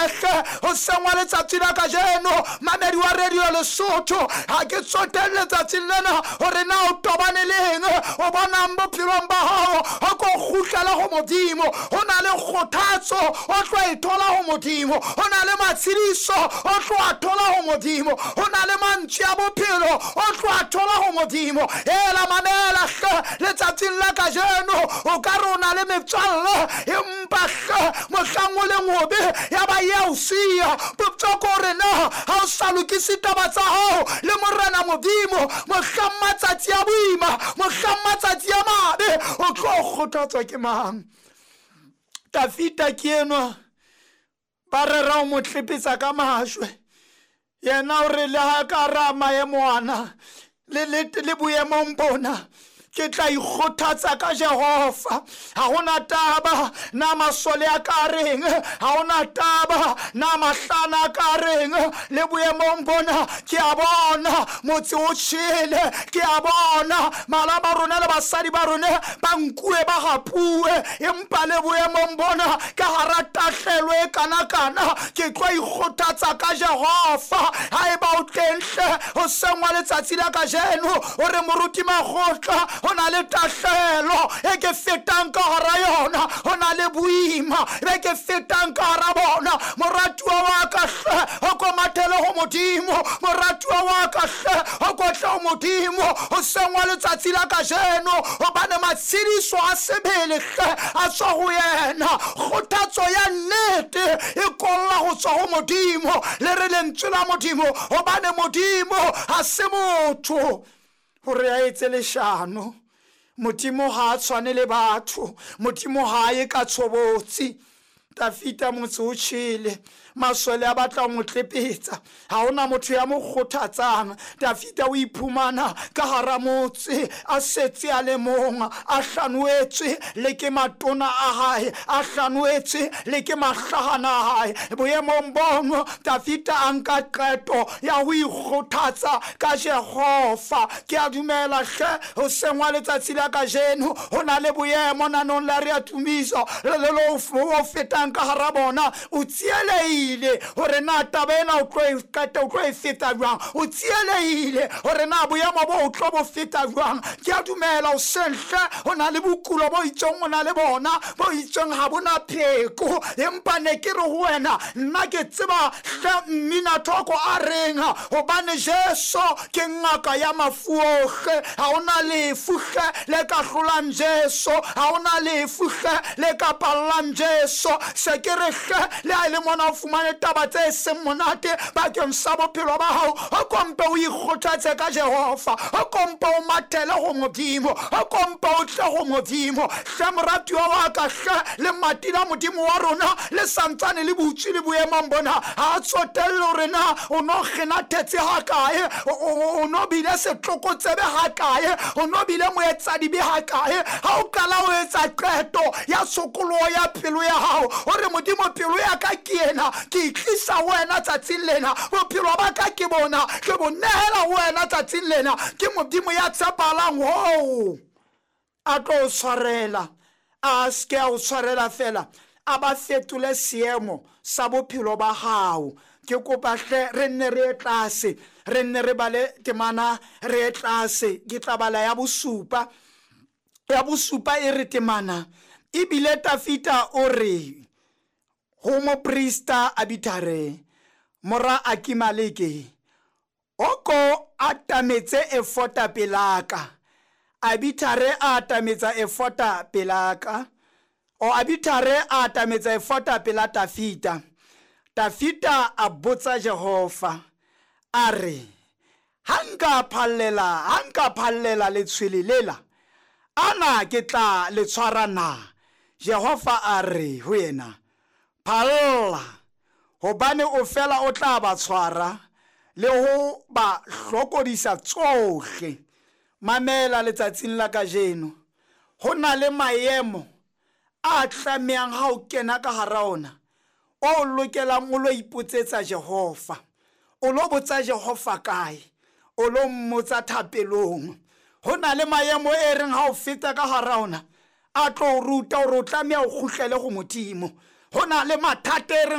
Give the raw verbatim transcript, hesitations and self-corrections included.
Mamele hle hoseng wa letsatsi la kajeno, mamedi wa Radio Lesotho, ha ke tsotelle letsatsing lena hore na o tobane le eng, o bonang bophelong ba hao, o ko kgutlela ho Modimo. Ho na le kgothatso o tlo e thola ho Modimo, ho na le matshediso o tlo a thola ho Modimo, ho na le mantswe a bophelo o tlo a thola ho Modimo. Ela mamela hle letsatsing la kajeno, o ka re o na le metswalle, empa hle mohlang o leng hobe ya ba ya o siya. Potso ke hore na ha o sa lokise taba tsa hao le Morena Modimo, mohlang matsatsi a boima, mohlang matsatsi a mabe, o tlo kgothatswa ke mang? Tafita ke enwa, ba rera ho mo tlepetsa ka majwe, yena o re le ha ka ra maemo ana le le le boemong bona, ke tla ikgothatsa ka Jehova. Ha hona taba na masole a ka reng, ha hona taba na mahlana a ka reng, le boemong bona ke a bona motse o tjhele, ke a bona mala ba rona le basadi ba rona ba nkuwe ba hapuwe, empa le boemong bona ka hara tahlelo e kanakana, ke tlo ikgothatsa ka Jehova. Haeba o teng hle hoseng wa letsatsi la kajeno, o re moruti Makgotla, ho na le tahlelo e ke fetang ka hara yona, ho na le boima be ke fetang ka hara bona, moratuwa wa ka hle o ko mathele ho Modimo, moratuwa wa ka hle o ko tle ho Modimo hoseng wa letsatsi la kajeno, hobane matshediso a sebele hle a tswa ho yena. Kgothatso ya nnete e kolla ho tswa ho Modimo, le re lentswe la Modimo, hobane Modimo ha se motho hore a etse leshano. Modimo ha a tshwane le batho, Modimo ha a ye ka tshobotsi. Tafita motse o tjhele, masole a batla ho mo tlepetsa, ha hona motho ya mo kgothatsang. Tafita o iphumana ka hara motse a setse a le mong, a hlanoetswe le ke matona a hae, a hlanoetswe le ke mahlahana a hae. Boemong bono Tafita a nka qeto ya ho ikgothatsa ka Jehova. Ke a dumela hle hoseng wa letsatsi la kajeno, ho na le boemo nanong la re a tumiso le le lo o fetang ka hara bona, o tsielehile hore na taba ena o tlo e qeta, o tlo e feta jwang, o tsielehile hore na boemo bo o tlo bo feta jwang. Ke a dumela hoseng hle ho na le bokulo bo itseng o na le bona bo itseng ha bona pheko, empa ne ke re ho wena, nna ke tseba hle mmina thoko a reng, hobane Jesu ke ngaka ya mafu ohle. Ha hona lefu hle le ka hlolang Jesu, ha hona lefu hle le ka pallang Jesu. Se ke re hle le ha e le mona o fumane taba tse seng monate bakeng sa bophelo ba hao, o kompe o ikgothatse ka Jehova, o kompe o mathele ho Modimo, o kompe o tle ho Modimo. Hle moratuwa wa ka hle, lemati la Modimo wa rona le santsane le butswe le boemong bona, ha a tsotelle hore na o no kgenathetse hakae, o no bile setlokotsebe hakae, o no bile moetsadibe hakae. Ha o qala o etsa qeto ya tshokoloho ya pelo ya hao, o re Modimo pelo ya ka ke ena, ke itlisa ho wena tsatsing lena, bophelo ba ka ke bona, ke bo nehela ho wena tsatsing lena. Ke Modimo ya tshepahalang hoo a tlo o tshwarela, a se ke a o tshwarela fela, a ba fetole seemo sa bophelo ba hao. Ke kopa hle re nne re ye tlase, re nne re bale temana re ye tlase. Ke tla bala ya bosupa, ya bosupa e re temana, ebile Tafita o re ho moprista Abithare mora Akimeleke, o ko atametse efota pelaka. Abithare a atametsa efota pelaka, o Abithare a atametsa efota pela Tafita. Tafita a botsa Jehova a re, ha nka phallela, ha nka phallela letshwele lela, ana ke tla le tshwara na? Jehova a re ho yena, phalla, hobane o fela o tla ba tshwara le ho ba hlokodisa tsohle. Mamela letsatsing la kajeno, ho na le maemo a tlamehang ha o kena ka hara ona, o lokelang o lo ipotsetsa Jehova. O lo botsa Jehova kae? O lo mmotsa thapelong. Ho na le maemo e reng ha o feta ka hara ona, a tlo o ruta hore o tlameha o kgutlele ho Modimo. Ho na le mathata e reng